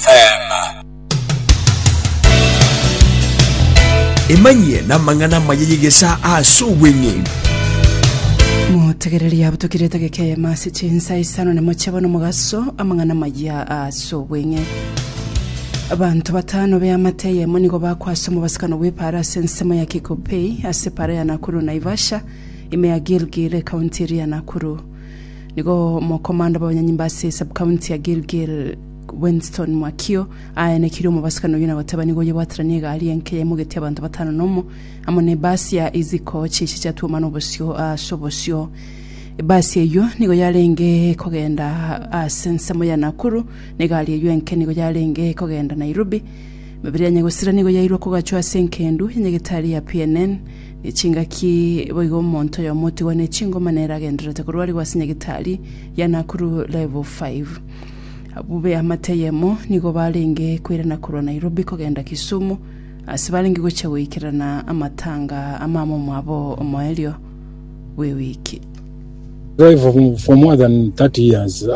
FM. Emanyie namang'ana amaya y'egesaa ase obweng'e. Motegereri abutokire etageka eyemo ase chinsa isano nemo chia bono mogaso amang'ana amaya ase obweng'e. Abanto batano b'eamate eyemo nigo bakwa ase omobasikano bw'epaara ase ensemo ya Kikopey ase epaara ya Nakuru Naivasha ime ya Gilgil ekaunti eria ya Nakuru. Nigo omokomanda bw'abanyanyimba ase esubcounty ya Gilgil Winston Mwakio aenekirie omobasikano oyio na goteba nigo oyebwateranie egari enke yaimogetie abanto batano nomo amo nebasi ya Easy Coach echi chiatuomana obosio ase obosio. Ebasi eyio nigo yarenge kogenda ase ensemo ya Nakuru, na egari eyio enke nigo yarenge kogenda Nairobi. Emebere ya nyagosira nigo yairwe kogachwa ase enkendu ya nyagetari ya PNN, ne chingaki boigo omonto oyomo otigwa ne chingoma nere agendererete korwarigwa ase nyagetari ya Nakuru Level 5. Abwo b'eamate eyemo nigo barenge koirana korwa Nairobi kogenda Kisumu, ase barenge gochia goikerana amatanga a mama omwabo omoerio bw'ewiki. Drive for more than 30 years.